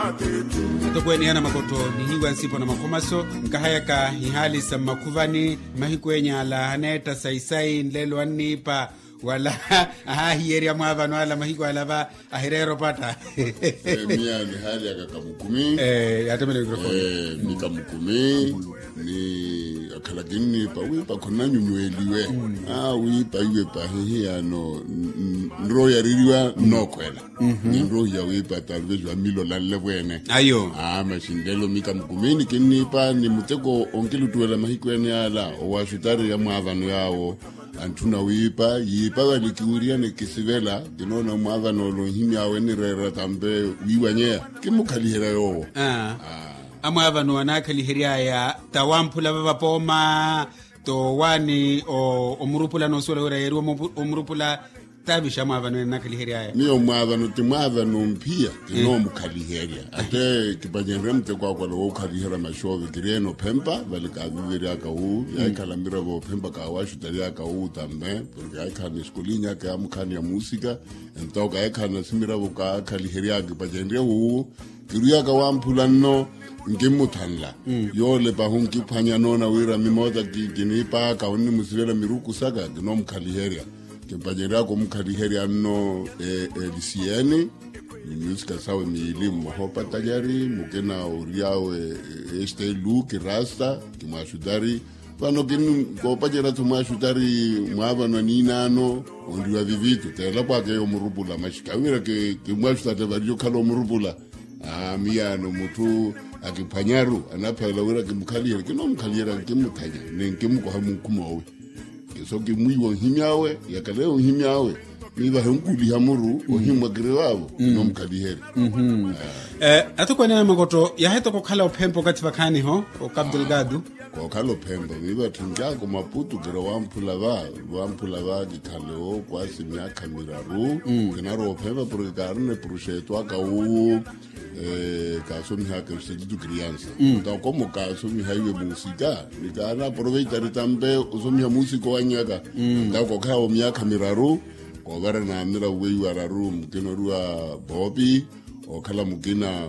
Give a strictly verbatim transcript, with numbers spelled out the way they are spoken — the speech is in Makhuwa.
Atokweene ya namakotto nihiiwa nsipo na makhomaso, nkahayaka ihaali sa mmakhuvani. Mahiku enya ala aneetta sayi-sayi nlelo anniipa wala ahaahiyerya mwaavano ala mahiku ala va ahireera opatta. Miya nihaalyaka kamukumi. Yaatemela mikrofoni. Ni kamukumi ni akhala kinniipa wiipa khonanyunyweliwe. Wiipa iwe pahi hiyano nroho yaririwa nnookhwela. Ninrohiya wiipa talvez wamilolanle vwene. Ayo. Maxi nlelo mika mukumini kinniipa ni muteko onkiluttuwela mahiku ene ala owaxutari ya mwaavano yaawo. Antthuna wiipa yiipa vale kiwiriyane kisivela. Kinoona mwaavano ole onhimyaawe nireera tampe wiiwanyeya kimmukhaliherya yoowo. Amwaavano anaakhaliheryaya tawamphula vavapooma. Towaani omurupula noosuwela wira yeeriwa omurupula. Taavixa mwaavano ene naakhaliheryaya miyo mwaavano ti mwaavano mphiya kinoomukhaliherya. Ate kipacenrye muteko akwala wookhaliherya maxoove kiriyeene ophempa vale kaaviveryaka wu yaahikhala miravo ophempa kaawaxutaryaka wu tambe. Porke yaahikhala ni eskulinyaka yaamukhaani ya muusika. Ento kaahikhala nasi miravo kaakhaliheryaka kipacenrye wu kirwiyaka wamphula nno nkimmuthanla. Yoole pahi onkiphwanya noona wira mimoota kiniipaaka onnimusivela miruku saka kinoomukhaliherya. Kimpaceryaka omukhaliherya nno elisiyeni ni myusika sawe miili mmoha opatanyari mukina ory'awe. Este luki rasta kimwaxutari. Vano koopacerya-tho mwaxutari mwaavano aniinaano onriwa vivitu teelapwaka eyo omurupula maxi kawiira kimwaxutari variye okhala omurupula. Miyaano mutthu akiphwanyaru anaphavela wira kimukhaliherya kinoomukhaliherya nkimmuthanya ni nkimmukoha munkhumoowe. Kiso kimwiiwa onhimy'awe yakaleya onhimy'awe. Miivahe onkuliha muru ohimmwa kirivaavo kinoomukhaliherya. Atokweene ya makotto yaahetaka okhala ophempa okathi vakhaaniho okapitelgado. Kookhala ophempa miiva tthunjaka omaputu kira wamphula va wamphula va kikhale ookwaasi myaakha miraru. Kinarowa ophempa porke kaarina epuruxeeto aka wuwu. Kaasomihaka esititu kiriyansa. Ntakomo kaasomihaiwe muusika ni kaanaaporoveitari tampe osomiha muusika owannyaka. Ntakookhala wa myaakha miraru koovara naamira weiwa araru mukina oriwa poopi. Okhala mukina